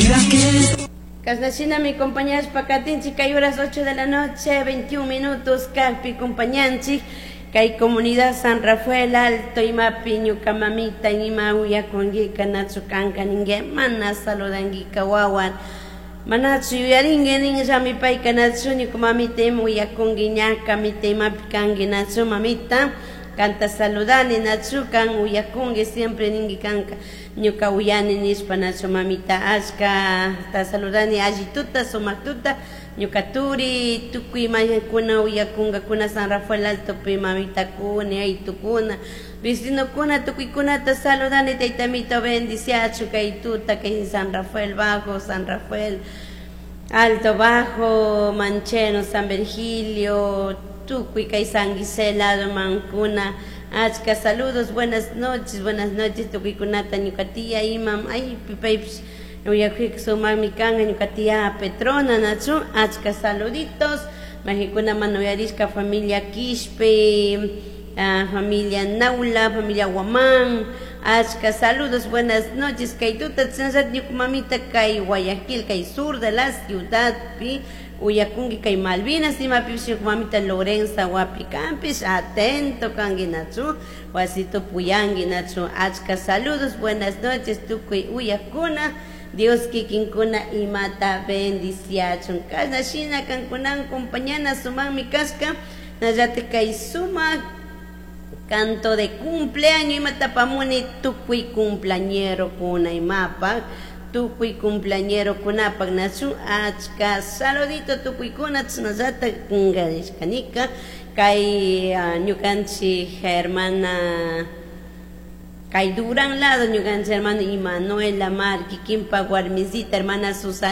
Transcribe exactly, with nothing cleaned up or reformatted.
Mira que Kasnashina mi compañeros pakatinchik kay horas ocho de la noche, veintiún minutos, kajpi compañanchik kay comunidad San Rafael Alto, imapi ñuka mamita ima uyakunguika nachu kanka ningue mana saludanguika wawan manachu yuyaringue ninllami payka nachu ñuka mamita ima uyakunki ñaka mita imapi kanki nachu mamita kanta saludani nachu kan uyakunki siempre ninki kanka ñuka uyani nishpa nachu mamita ashka ta saludani allituta sumaktuta ñuka turi tukuy mañakuna uyakunkakuna San Rafael Altopi mamitakuna aytukuna vecinokuna tukuykunata saludani taytamito bendiciachu kay tuta kay San Rafael Bajo, San Rafael Alto Bajo, Mancheno, San Virgilio, tukuy kay San Gisela mankuna achka saludos, buenas noches, buenas noches tukuykunata ñuka tía imam ay pipaypish uyakuyka sumakmi kanka ñuka tía Petrona nachu achka saluditos majikuna mana uyarishka familia Quishpe, ah, familia Naula, familia Guamán, achka saludos, buenas noches kay tuta chashnallata ñuka mamita kay Guayaquil, kay sur de la ciudad pi uyakunki kay Malvinas imapipish ñuka mamita Lorenza wapi kanpish atento kanki nachu wasito puyanki nachu achka saludos, buenas noches tukuy uyakuna Dios kikinkuna imata bendiciachun kashna shina kankunan compañana sumakmi kashka nallata kay sumak canto de cumpleaños imata pamuni tukuy cumpleañero kuna imapak tukuy cumpleañero kunapak nachu achka saludito tukuykuna chashnallata kunkarishkanika kay ñukanchik hermana kay Durán lado ñukanchik hermano Imanuel Lamar kikinpak warmisita hermana Susana.